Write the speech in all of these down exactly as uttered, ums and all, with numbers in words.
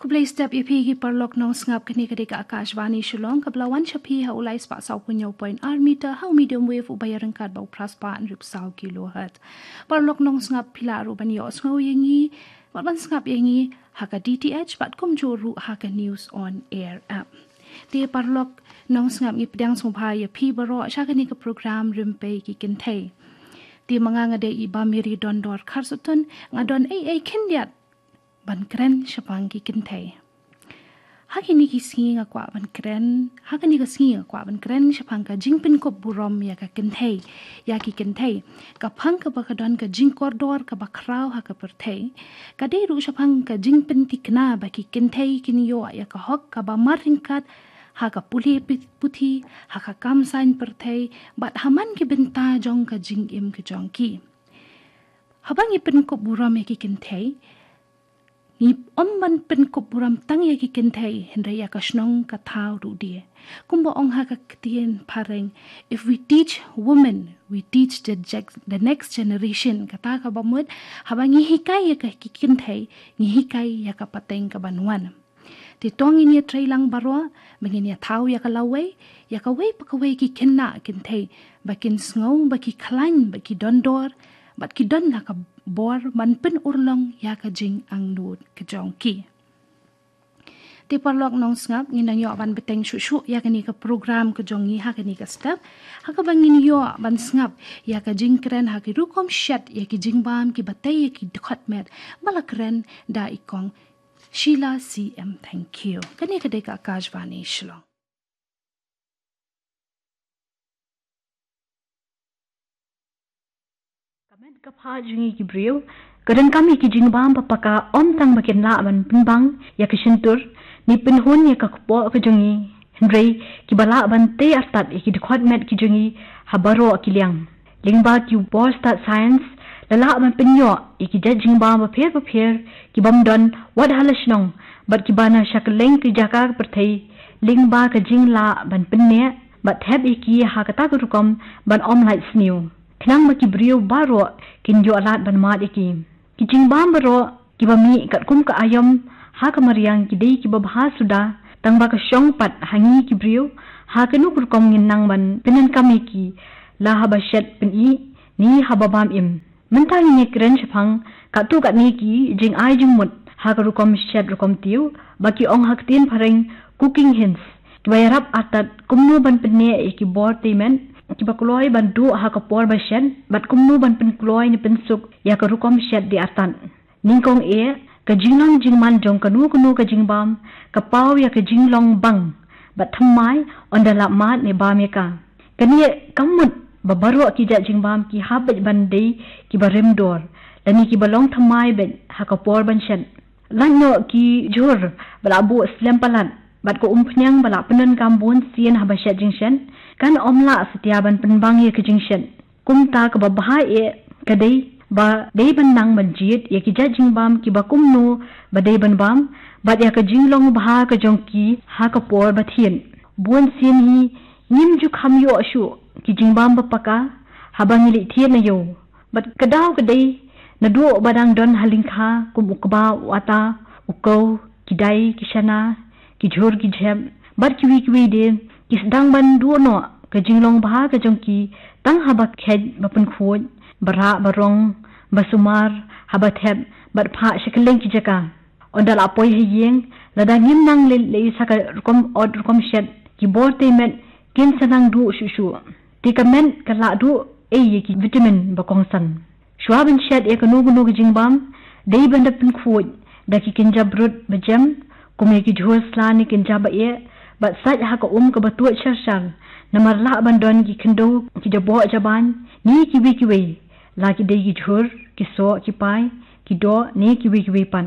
Khublei step ïa phi ki paralok nongsngap, kane ka dei ka Akashvani Shillong, kaba la wan sha phi ha u lai spah saw phew hynñiew point ar meter ha u medium wave uba ïaryngkat bad u phra spah hynriew phew saw kilohertz. Paralok nongsngap, phi lah ruh ban ïohsngew ïa ngi bad ban sngap ïa ngi ha ka D T H bad kumjuh ruh ha ka News on Air app. Te paralok nongsngap, ngi pdiang sngewbha ïa phi baroh sha kane ka program Rympei ki Kynthei. Te ma nga, nga dei i Bah Mary Dondor Kharsathun, nga don ei ei khyndiat ban kren shaphang ki kynthei. Ha kine ki sngi nga kwah ban kren, ha kine ki sngi nga kwah ban kren shaphang ka jingpynkup burom ïa ka kynthei, ïa ki kynthei. Ka phang kaba ka don ka jingkordor kaba khraw ha ka pyrthei, ka dei ruh shaphang ka jingpyntikna ba ki kynthei kin ïoh ïa ka hok kaba marryngkat ha ka pule pi-, puthi, ha ka kam saiñ pyrthei, bad ha man ki bynta jong ka jingim ka jong ki. Haba ngi pynkup burom ïa ki kynthei, ngi ym ban pynkup burom tang ïa ki kynthei, hynrei ïa ka shnong ka thaw ruh de. Kumba ong ha ka ktien phareng, "If we teach women, we teach the, the next generation." Kata kaba mut, haba ngi hikai ïa ka ki kynthei, ngi hikai ïa ka pateng kaban wan. Te to ngin ïa trei lang baroh ba ngin ïa thaw ïa ka lawei, ïa kawei pa kawei ki khynnah kynthei, ba kin sngew ba ki khlaiñ, ba ki dondor, bad ki don la ka bor ban pynurlong ïa ka jingangnud ka jong ki. Te paralok nongsngap, ngin nang ïoh ban bteng shuh shuh ïa kane ka program ka jong ngi ha kane ka step, ha kaba ngin ïoh ban sngap ïa ka jingkren ha ki rukom shet ïa ki jingbam kiba tei ïa ki dkhot met, ba la kren da i Kong Sheila C M Thangkhiew. Kane ka dei ka Akashvani Shillong. Ka met ka phad jong ngi ki briew ka donkam ïa ki jingbam ba paka, ym tang ba kin lah ban pynbang ïa ka shyntur ne pynhun ïa ka kpoh ka jong ngi, hynrei kiba lah ban tei artat ïa ki dkhot met ki jong ngi ha baroh ki liang. Lyngba ki bor stad science, la lah ban pynïoh ïa ki jait jingbam bapher bapher ki bym don wat ha la shnong bad kiba na sha kylleng ki jaka ka pyrthei, lyngba ka jinglah ban pynneh bad thep ïa ki ha kata ka rukom ban ym lait sniew, khnang ba ki briew baroh kin ïoh lad ban mad ïa ki. Ki jingbam baroh kiba mih katkum ka aïom ha ka mariang ki dei kiba bha suda, tang ba ka shong pat ha ngi ki briew ha kano ka rukom ngin nang ban pyndonkam ïa ki, la haba shet pyni ne haba bam im. Mynta ngin ïa kren shaphang katto katne ki jingai jingmut ha ka rukom shet rukom tiew, ba ki ong ha ka ktien phareng cooking hints, kiba ïarap artat kumno ban pynneh ïa ki bor tei met kiba kloi ban duh ha ka por ba shet, bad kumno ban pynkloi ne pynsuk ïa ka rukom shet dei artat. Nyngkong eh, ka jinglong jingman jong kano kano ka jingbam ka paw ïa ka jinglong bang bad thymmai ynda la mad ne bam ïa ka. Kane kam mut ba baroh ki jait jingbam ki hap beit ban dei kiba rim dor lane kiba long thymmai beit ha ka por ban shet. Lait noh ki jhur ba la buh slem palat bad ka umphniang ba la pyndonkam bun sien haba shet jingshet kan ym lah satia ban pynbang ïa ka jingshet. Kumta kaba bha eh ka dei ba dei ban nang ban jied ïa ki jait jingbam kiba kumno ba dei ban bam, bad ïa ka jinglong bha ka jong ki ha ka por ba thied. Bun sien hi ngim ju kham ïoh shuh ki jingbam ba paka haba ngi leit thied na ïew. Bad ka daw ka dei naduh ba dang don ha lyngkha kum u kba u ata, u kew, ki dai ki shana, ki jhur ki jhep bad kiwei kiwei de, ki sdang ban duh noh ka jinglong bha ka jong ki tang haba kheit ba pynkhuid, ba rah ba rong, ba sumar, haba thep bad phah sha kylleng ki jaka. Ynda la poi ha ïing, lada ngim nang leit leit sa ka rukom ot rukom shet, ki bor tei met kin sa nang duh shuh shuh. Te ka met ka lah duh ei ïa ki vitamin ba kongsan. Shuwa ban shet ïa kano kano ka jingbam, dei ban da pynkhuid da ki kynja brut ba jem, kum ïa ki jhur sla ne kynja ba eh, bad sait ha ka um kaba tuid shar shar. Namar lah ban don ki khyndew, ki jaboh jaban ne kiwei kiwei, la ki dei ki jhur, ki soh, ki pai, ki doh ne kiwei kiwei pat.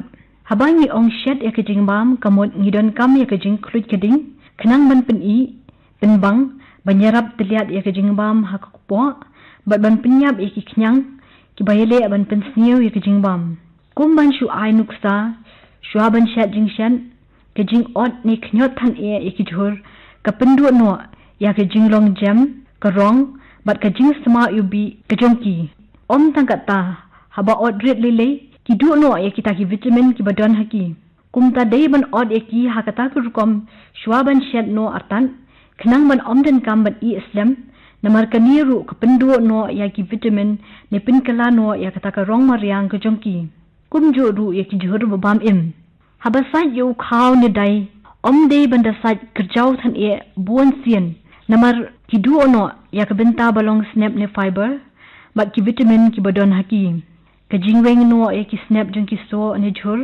Haba ngi ong shet ïa ka jingbam, ka mut ngi donkam ïa ka jingkhluit ka ding khnang ban pyni, pynbang, ban ïarap tylliat ïa ka jingbam ha ka kpoh bad ban pynïap ïa ki khñiang kiba ïaleh ban pynsniew ïa ka jingbam. Kum ban shu ai nuksa, shuwa ban shet jingshet, ka jingot ne khñiot than eh ïa ki jhur ka pynduh noh ïa ka jinglong jem, ka rong bad ka jingsma ïubih ka jong ki. Ym tang katta, haba ot rit lei lei, ki duh noh ïa kita ki vitamin kiba don ha ki. Kumta dei ban ot ïa ki ha kata ka rukom shuwa ban shet noh artat, khnang ban ym donkam ban ih slem, namar kane ruh ka pynduh noh ïa ki vitamin ne pynkylla noh ïa kata ka rong mariang ka jong ki. Kumjuh ruh ïa ki jhur ba bam im. Haba sait ïa u khaw ne dai, ym dei ban da sait kyrjaw than eh bun sien, namar ki duh noh ïa ka bynta ba long snep ne fiber bad ki vitamin kiba don ha ki. Ka jingweng noh ïa ki snep jong ki soh ne jhur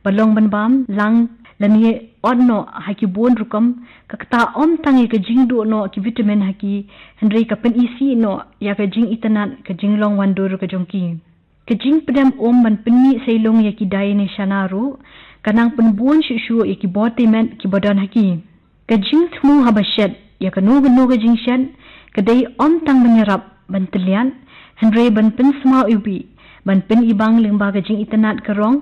ba long ban bam lang lane ot noh ha ki bun rukom, ka ktah ym tang ïa ka jingduh noh ki vitamin ha ki, hynrei ka pynisih noh ïa ka jingitynnad, ka jinglong wandur ka jong ki. Ka jingpdem um ban pynmih seilung ïa ki dai ne shana ruh ka nang pynbun shuh shuh ïa ki bor tei met kiba don ha ki. Ka jingthmu haba shet ïa kano kano ka jingshet ka dei ym tang ban ïarap ban tylliat, hynrei ban pynsmaw iwbih, ban pynibang lyngba ka jingitynnad ka rong,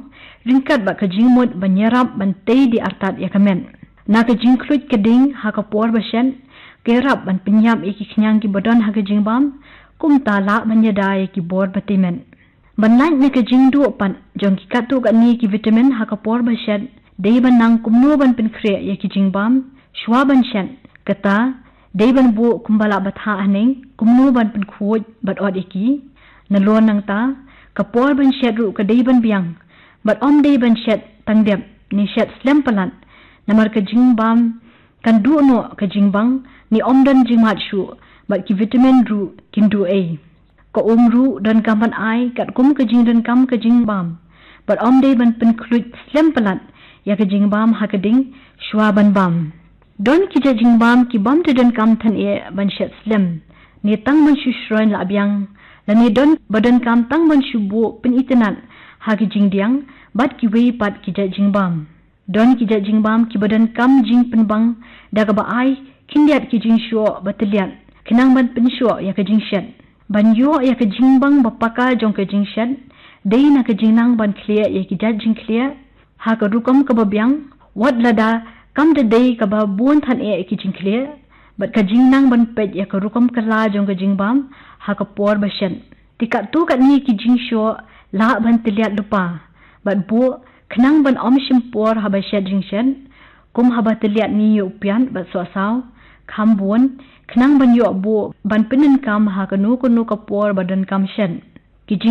ryngkat bad ka jingmut ban ïarap ban tei die artat ïa ka met. Na ka jingkhluit ka ding ha ka por ba shet ka ïarap ban pynïap ïa ki khñiang kiba don ha ka jingbam, kumta lah ban ïada ïa ki bor ba tei met. Ban lait na ka jingduh pat jong ki katto katne ki vitamin ha ka por ba shet, dei ban nang kumno ban pynkhreh ïa ki jingbam shuwa ban shet. Kata dei ban buh kumba lah bthah haneng kumno ban pynkhuid bad ot ïa ki. Nalor nangta, ka por ban shet ruh ka dei ban biang, bad ym dei ban shet tang dep ne shet slem palat, namar ka jingbam kan duh noh ka jingbang ne ym don jingmad shuh, bad ki vitamin ruh kin duh ei. Ka um ruh donkam ban ai katkum ka jingdonkam ka jingbam, bad ym dei ban pynkhluit slem palat ïa ka jingbam ha ka ding shuwa ban bam. Don ki jait jingbam ki bym da donkam than eh ban shet slem, ne tang ban shu shroin la biang, lane don ba donkam tang ban shu buh pynitynnad ha ki jingdiang bad kiwei pat ki jait jingbam. Don ki jait jingbam kiba donkam jingpynbang da kaba ai khyndiat ki jingshoh ba tylliat khnang ban pynshoh ïa ka jingshet. Ban ïoh ïa ka jingbang ba paka jong ka jingshet, dei na ka jingnang ban khlieh ïa ki jait jingkhlieh ha ka rukom kaba biang, wat lada kam da dei kaba bun than eh ki jingkhlieh, bad ka jingnang ban peit ïa ka rukom kylla jong ka jingbam ha ka por ba shet. Te katto katne ki jingshoh lah ban tylliat lypa bad buh khnang ban ym shim por haba shet jingshet, kum haba tylliat ne ïa u piat bad sohsaw, kham bun, khnang ban ïoh buh ban pyndonkam ha kano kano ka por ba donkam shet. Ki jing